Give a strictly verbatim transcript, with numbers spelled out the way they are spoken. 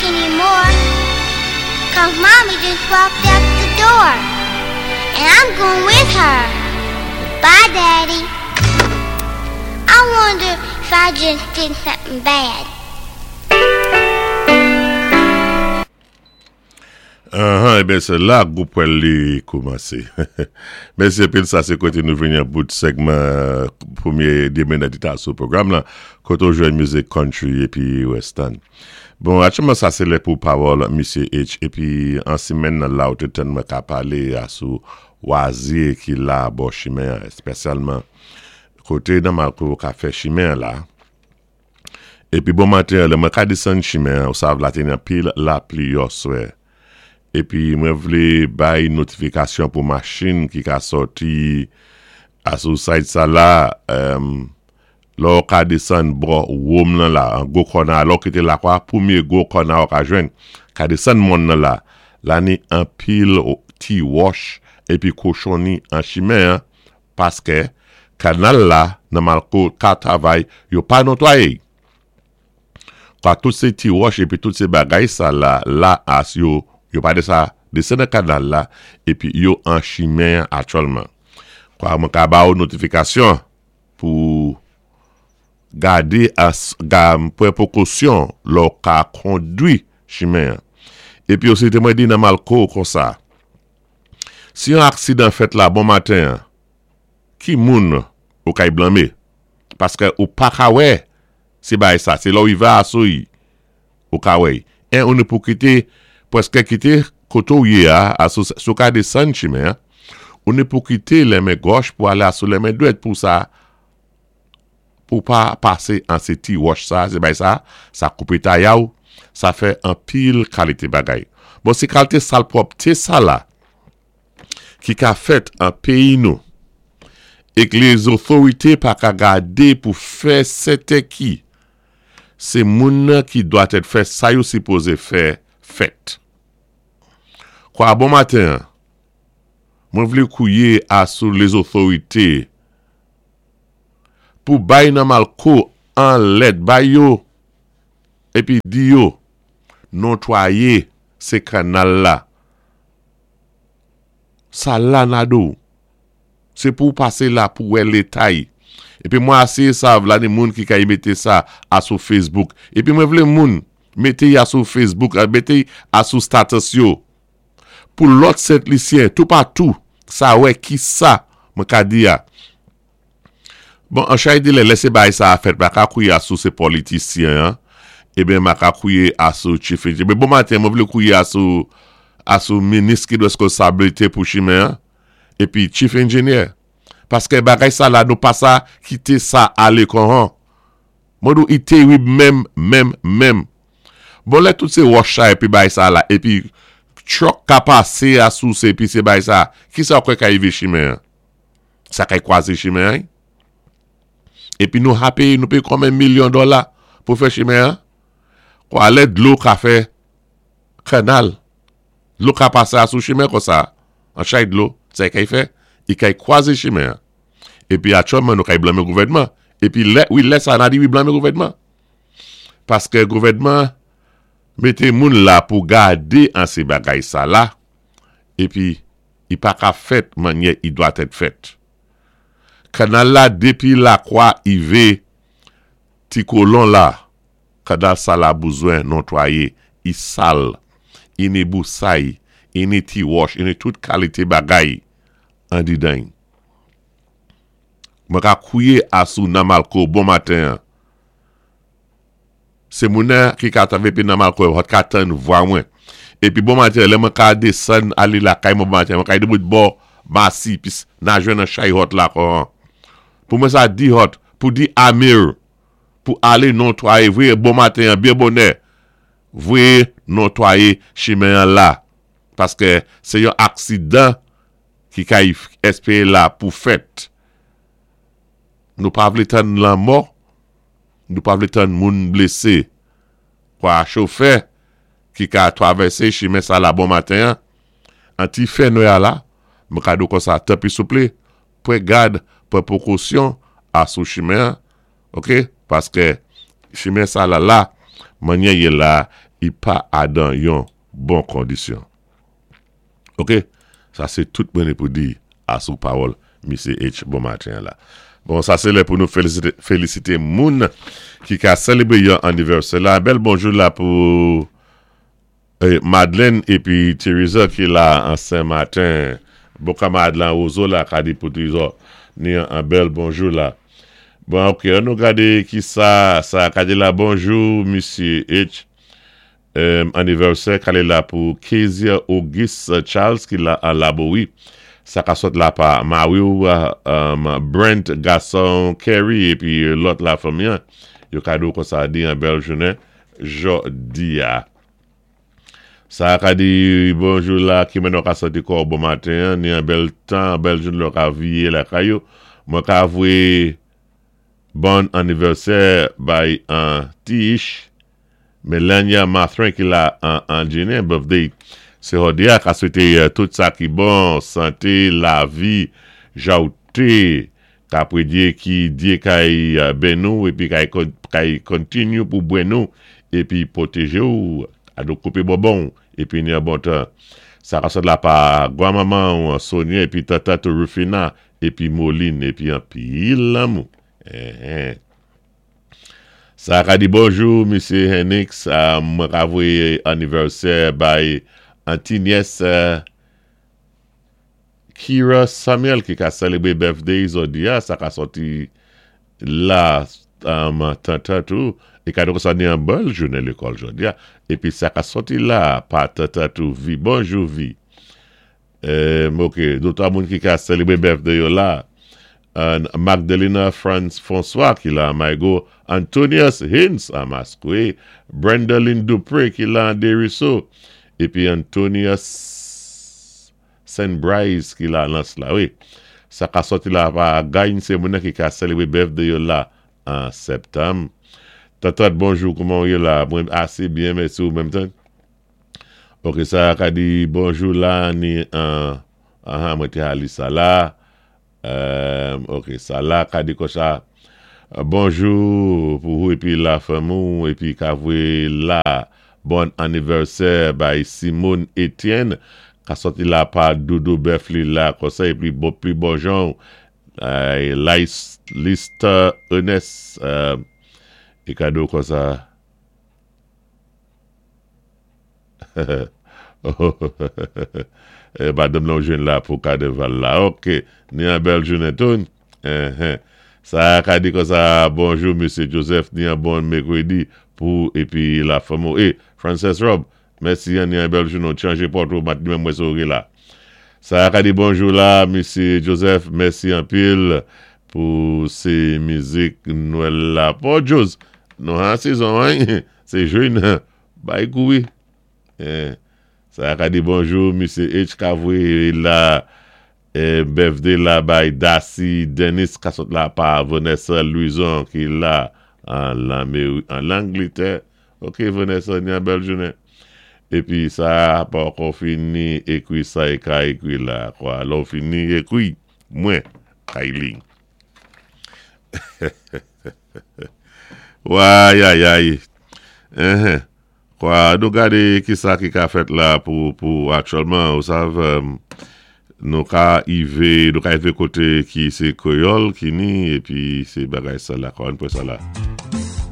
anymore. Cause Mommy just walked out the door. And I'm going with her. Bye, Daddy. I wonder if I just did something bad. Ahan, ében sé la gwo pwèl li koumansé. Mèsi anpil sa sé koté nou vini an bout segman pwémyé démen sou pwogram la, koté ou jwenn mizik country épi western. Bon, aktyèlman sa sé lè pou pawòl Misyé H épi an simenn nan la ou té tann mwen ka palé a sou wazyé ki la bò chimen, espésyalman koté nan Malco ka fè chimen la. Épi bon maten, lè mwen ka désann chimen, ou sav la té ni anpil lapli yèswè. Épi mwen vlé bay notifikasyon pou machin ki ka sòti a sou side sa la, um, lò ou ka désann bò wòm nan la, an gwo kòna, lò kité Lakwa, pwémyé gwo kòna ou ka jwenn, ka désann mòn nan la, la ni anpil ti wòch épi kochonni an chimen, paské kanal la nan Malco ka travay, yo pa notwayé. Kwa tout sé ti wòch épi tout sé bagay sa la, la as yo, yo pa de sa, désann nan kanal la, épi yo an chimen aktyèlman. Kwa mwen ka ba ou notifikasyon pou gadé as, ga, pwan pwékosyon lò ka kondwi chimen. Épi osi té mwen di nan Malco konsa, si yon aksidan fèt la bon maten, ki moun ou kay blanmé? Paské ou pa ka wè, sé bay sa, sé lò ou va asou ou ka wè. En ou ni pou kité, pwèské kité koté ou yé a, asou, sou ka désann chimen, ou ni pou kité lè men gòch pou alé asou lè men dwèt pou sa, pou pa pasé an sé ti wòch sa, sé bay sa, sa koupé taya ou, sa fè anpil kalité bagay. Bon, sé kalité salpwòpté sa la, ki ka fèt an péyi nou, ék lézotorité pa ka gadé pou fè sèten ki, sé moun ki dwa tèt fè sa yo sipozé fè fèt. Kwa bon maten, mwen vlé kwiyé asou lézotorité pou bay nan Malco an lèt bay yo épi di yo notwayé sé kanal la. Sa la nado. Sé pou pasé la pou wè léta i. Épi mwen aséyé sav la ni moun ki ka y mété sa asou Facebook. Épi mwen vlé moun mété y asou Facebook, mété y asou status yo. Pou lòt Sent Lisyen, toupatou, sa wè ki sa mwen ka di ya. Bon, an chay di lè, lè sé bay sa a fèt, mwen ka kwiyé asou sé politisyen, ében mwen ka kwiyé asou chief engineer. Bon maten, mwen vlé kwiyé asou asou minis ki dwé pou chimen, épi chief engineer. Paské bagay sa la, nou pa sa kité sa alé kon Mwen dou i tèrib menm, menm, menm. Bon lè tout sé wòch sa épi bay sa la, épi truck ka pasé asou sé, épi sé bay sa, ki sa kwè ka rivé chimen? Sa kay kwazé chimen? Épi nou ha péyé, nou péyé konbyen milyon dola pou fè chimen? Kwa lè dlo ka fè kanal, dlo ka pasé asou chimen kon sa, an chay dlo, sa kay fè, i kay kwazé chimen. Épi aktyèlman nou kay blanmé gouvèdman. Épi lè, wi, lè sa nan di wi blanmé gouvèdman. Paské gouvèdman mété moun la pou gadé an sé bagay sa la, épi i pa ka fèt mannyè i dwa tèt fèt. Kanal la dépi Lakwa ivé ti kolon la, kanal sa la bezwen notwayé, i sal, i ni bousay, i ni ti wòch, i ni tout kalité bagay an didan. Mwen ka kwiyé asou nan Malco bon maten. Sé moun ki ka travè pi nan Malco, hot ka tann vwa mwen. Épi bon maten, lè mwen ka désann alé lakay mwen bon maten, mwen ka debout bò Masi, pi nan jwenn an chay hot la kon. Pou mwen sa di hot, pou di Amir, pou alé notwayé, vwé bon maten, byen bonè, vwé notwayé chimen an la. Paské sé yon aksidan ki ka espéyé la pou fèt. Nou pa vlé tann lanmò, nou pa vlé tann moun blésé. Kwa chofè ki ka travèsé chimen sa la bon maten, an ti fè nwè la, mwen ka di ou kon sa, tanpwi souplé, pwan gad, pwan pwékosyon asou chimen, ok? Paské chimen sa la la, mannyè yé la, I pa adan yon bon kondisyon. Ok? Sa sé tout mwen ni pou di asou pawòl Misye H bon maten la. Bon, sa sé lè pou nou félisité, félisité moun ki ka sélébwé yon anivèsè la. Bèl bonjou la pou eh, Madeleine épi Teresa ki la an Saint-Martin. Bon kanmarad lan Rozo la ka di pou Trésor. Ni an bèl bonjou la. Bon, ok, an nou gadé ki sa, sa ka di la bonjou, Misye H. Euh, anivèsè ka la pou Kezia Auguste Charles ki la an Laborie. Sa ka sot la pa mari-w, um, Brent Gasson Kerry épi lòt la fanmi. Yo ka di konsa di an bèl jounen jòdi a. Sa ka di bonjou la ki men nou ka santi kò bon maten, ni an bèl tan, bèl jounen lò ka viye la kayo. Mwen ka vwé bon anivèsè bay an Tish Melania Mathrin ki la an, an Ginen, birthday. Sé jòdi a ka swété euh, tout sa ki bon, santé, lavi, jawté, ka pwédyé ki Dyé kay euh, benni ou épi kay, kay kontinyé pou benni ou épi pwotéjé ou, a koupé bonbon épi ni an bon tan. Sa ka sot la pa gwanmanman ou Sonia épi tata Rufina épi Moline épi anpil lanmou. Eh, eh. Sa ka di bonjou, Misye Henix, uh, mwen ka vwé anivèsè bay Antiniès uh, Kira Samuel ki ka sélébwé birthday jòdi a, sa ka sòti la um, tanta tou, é ka donk sa ni an bèl jounen lékòl jòdi a, épi sa ka sòti la pa tanta tou vi, bonjou vi. Euh, ok, dotwa moun ki ka sélébwé birthday yo la, uh, Magdalena Franz François ki la Maigo, Antonius Hins a Maskoué, Brenda Lynn Dupré ki la Desruisseaux, épi Antonius Saint Bryce ki la Lans la, wi. Sa ka sòti la pa Gagne, sé moun ki ka sélébwé birthday yo la an septanm. Tatat, bonjou, kouman ou yé la? Mwen asé byen, mèsi ou menm tan. Ok, sa ka di bonjou la, ni an, aha, mwen té ali sa la. Euh, ok, sa la ka di konsa, bonjou pou ou épi la fanmi ou, épi ka vwé la bon anivèsè bay Simone Etienne, ka sòti la pa Doudou Befli la, konsa épi bon, pi bon jan, euh, Lista Ernest, euh, é kado konsa. Eh, madanm lan jwenn la pou kanaval la. Ok, ni an bèl jounen tou. Eh, eh. Sa ka di konsa, bonjou, Misye Joseph, ni an bon mèkwédi pou épi la fanmi. Eh, Frances Rob, mèsi, ni an bèl jounen, chanjé pòt ou, mat mwen mwen la. Sa ka di bonjou la, Misye Joseph, mèsi anpil pou sé mizik Nwèl la. Pou Jose, nou an sezon, hein? Sé jwenn, bay kouri. Eh. Sa ka di bonjou, Misye H. Ka vwé la eh, birthday la bay Darcy Dennis ka sot la pa Vanessa Louison ki la an an Langlétè. Ok, Vanessa, ni an bèl jounen. Épi sa pa ankò fini ékwi sa é ka ékwi la kwa. Lò fini ékwi, mwen, Kylie. Way, ay, ay. Uh-huh. Kwa, nou gadé ki sa ki ka fèt la pou, pou aktyèlman, ou sav, um, nou ka ivé, nou ka ivé koté ki sé kwéyòl ki ni, épi sé bagay sa la, kwa, an pwé sa la.